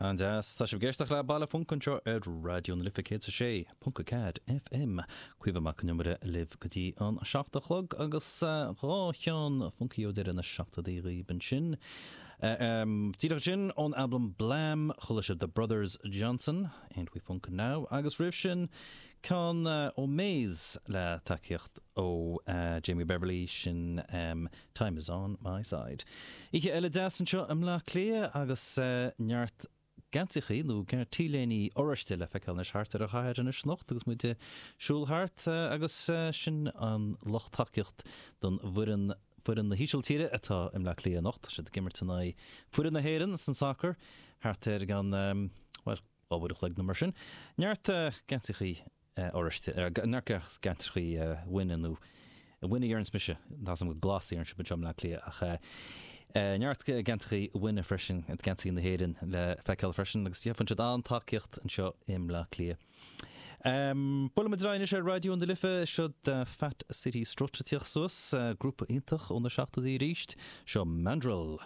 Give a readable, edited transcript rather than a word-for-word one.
An-deas. Tá sibh ag éisteacht le Baile Func anseo ar Raidió na Life 106.4 FM. Caoimhe Mac Con Iomaire libh go dtí an 7 a chlog agus dhá cheann funcaí ó deireadh na seachtóidí dhaoibh ansin. Díreach ansin ón albam Blam chuala sibh The Brothers Johnson, Ain't We Funkin' Now agus roimh sin ceann ó Maze le tacaíocht ó Jamie Beverley, sin Time is on my side. Oíche eile deas anseo i mBleá Cliath agus neart geansaíochaí nó t-léiní oráiste le feiceáil anois thart ar an chathair anois anocht agus muid ag siúl thart agus sin an lucht tacaíocht don bhfoireann foireann na hÍsiltíre atá i mBleá Cliath anocht. Tá siad ag imirt in aghaidh foireann na hÉireann san sacar thart ar an bhuel 2 uair a chloig nó mar sin. Neart geansaíochaí oráiste, neart geansaíochaí bhainne nó bhainne a deireanns mise, tá 's agam gur glas a deireann sibh anseo i mBleá Cliath ach neart geansaíochaí bhainne freisin, geansaí na hÉireann le feiceáil freisin agus faigheann siad an-tacaíocht anseo i mBleá Cliath. Buailfidh muid ar aghaidh anois ar Raidió na Life, seo Fat City Strut ag tíocht suas, grúpa iontach ó na seachtóidí arís, seo Mandrill.